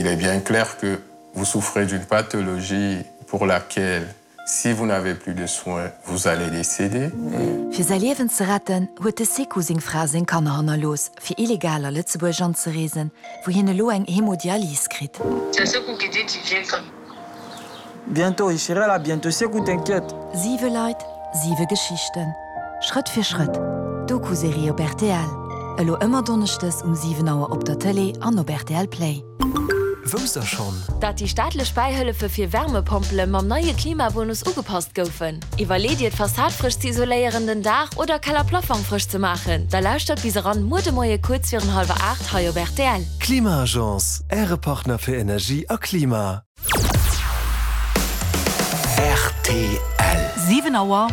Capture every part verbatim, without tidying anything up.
Il est bien clair que vous souffrez d'une pathologie pour laquelle si vous n'avez plus de soins, vous allez décéder. Fir säi Liewen ze retten, huet de Sekou seng Fra seng Kanner hannerlooss, fir illegal a Lëtzebuerg anzereesen, wou hien elo eng Hemodialys kritt. Bientôt, je serai là bientôt, Sekou, t'inquiète. Siwe Leit, siwe Geschichten. Schrëtt fir Schrëtt, Doku-Serie op rtl. Elo ëmmer donneschdes um siwen Auer op der Tëlee an op rtl Play. Wousst der schonn? Dat déi staatlech Bäihëllefe fir Wärmepompele mam neie Klimabonus ugepasst goufen? Iwwerleet Dir d'Fassad frësch ze isoléieren, den Daach oder Keller-Plaffong frësch ze maachen? Da lauschtert bis eran muer de Moie kuerz virun hallwer aacht hei op rtl. Klima-Agence, Äre Partner fir Energie a Klima. Rtl. Siwen Auer.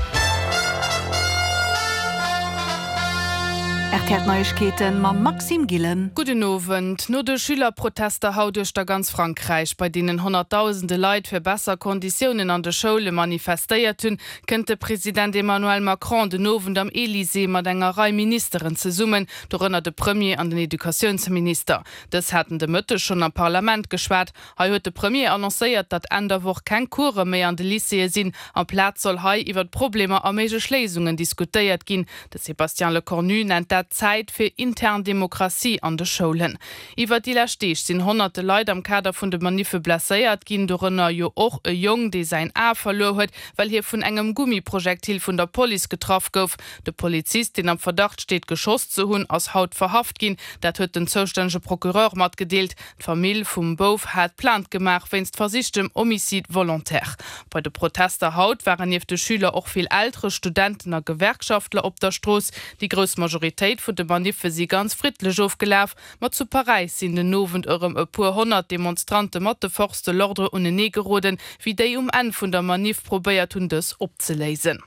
Rtl Neiegkeeten mam Maxime Gillen. Gudden Owend. No de Schülerprotester haut duerch der ganz Frankräich, bei deenen honnertdausende Leit fir besser Konditiounen an de Schoule manifestéiert hunn, kënnt de President Emmanuel Macron den Owend am Elysée mat enger Rei Ministeren zesummen, dorënner de Premier an den Educatiounsminister. Dës haten de Mëtteg schonn am Parlament geschwat. Hei huet de Premier annoncéiert, datt Enn der Woch keng Course méi an de Lycéeë sinn. Amplaz soll hei iwwer d'Problemer a méiglech Léisungen diskutéiert ginn. De Sébastien Lecornu nennt dat Zäit fir intern Demokratie an de Schoulen. Iwwer déi lescht Deeg sinn honnerte Leit am Kader vun de Maniffe blesséiert ginn, dorënner jo och e Jong, dee säin A verluer huet, well hie vun engem Gummiprojektil vun der Police getraff gouf. De Polizist, deen am Verdacht steet, geschoss ze hunn, ass haut verhaft ginn. Dat huet den zoustännege Procureur matgedeelt. D'Famill vum Bouf hat Plainte gemaach wéinst versichtem Homicide volontaire. Bei de Protester haut waren nieft de Schüler och vill Eltere, Studenten a Gewerkschaftler op der Strooss. Déi grouss Majoritéit vun de Maniffe si ganz friddlech ofgelaf, ma zu Paräis sinn den Owend erëm e puer honnert Demonstrante mat de Forces de l'ordre unenee geroden, wéi déi um Enn vun der Maniff probéiert hunn, dës opzeléisen.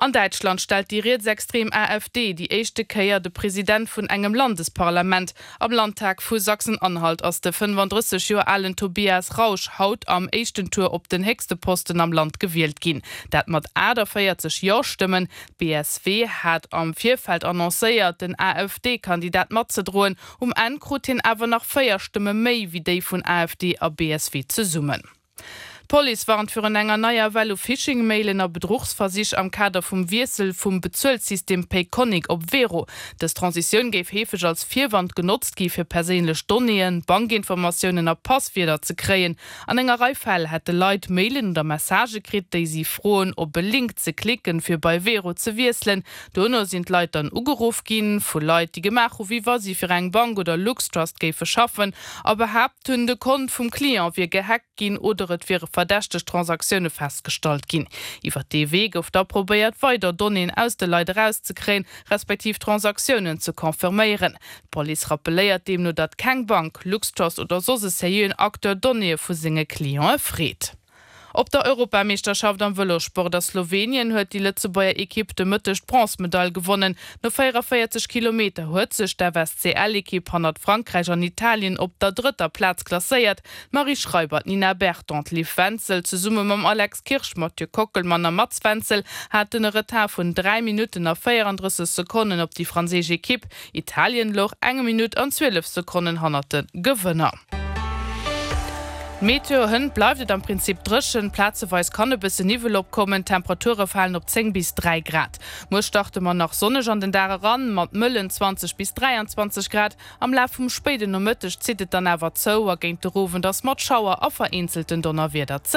An Däitschland stellt déi rietsextrem AfD déi éischte Kéier de President vun engem Landesparlament. Am Landtag vu Sachsen-Anhalt ass de fënnefandrësseg Joer alen Tobias Rausch haut am éischten Tour op den héchste Posten am Land gewielt ginn. Dat mat aachtavéierzeg Jo-Stëmmen. D'B S W hat am Virfeld annoncéiert, den A F D-Kandidat matzedroen. Um Enn krut hien awer nach véier Stëmme méi wéi déi vun A F D a B S W zesummen. D'Police warnt virun enger neier Well u Phishing-Mailen a Bedruchsversich am Kader vum Wiessel vum Bezuelsystem Payconiq op Wero. Dës Transitioun géif heefeg als Virwand genotzt gi fir perséinlech Donnéeën, Bankinformatiounen a Passwierder ze kréien. An enger Rei Fäll hätte Leit Mailen oder Messagë kritt, déi si froen, op e Link ze klicken, fir bei Wero ze wiesselen. Dono sinn d'Leit dann ugeruff ginn, vu Leit, déi gemaach hu wéi wa si fir eng Bank oder LuxTrust géife schaffen a behaapt hunn, de Kont vum Client wier gehackt ginn oder et wiere verdächteg Transaktioune festgestallt ginn. Iwwer dee Wee gouf da probéiert, weider Donnéeën aus de Leit erauszekréien, respektiv Transaktiounen ze confirméieren. D'Police rappelléiert deemno, datt keng Bank, LuxTrust oder soss e seriöen Acteur Donnéeë vu senge Clientë freet. Op der Europameeschterschaft am Vëlossport a Slowenien huet déi Lëtzebuerger Ekipp de Mëtteg d'Bronzmedail gewonnen. No véieranvéierzeg Kilometer huet sech d'F S C L-Ekipp hannert Frankräich an Italien op der drëtter Plaz klasséiert. D'Marie Schreiber, d'Nina Berton, d'Liv Wenzel zesumme mam Alex Kirsch, Mathieu Kockelmann a Mats Wenzel haten e Retard vun dräi Minutten a véierandrësseg Sekonnen op déi franséisch Ekipp. Italien louch eng Minutt an zwielef Sekonnen hannert de Gewënner. Meteo, Hënt bleift et am Prinzip dréchen, plazeweis kann e bësse Niwwel opkommen, d'Temperature falen op zéng bis dräi Grad. Muer starte mer nach sonneg an den Dag eran, mat mëllen zwanzeg bis dräianzwanzeg Grad. Am Laf vum spéiden Nomëtteg zitt et dann awer zou a géint den Owend ass mat Schauer a vereenzelten Donnerwieder ze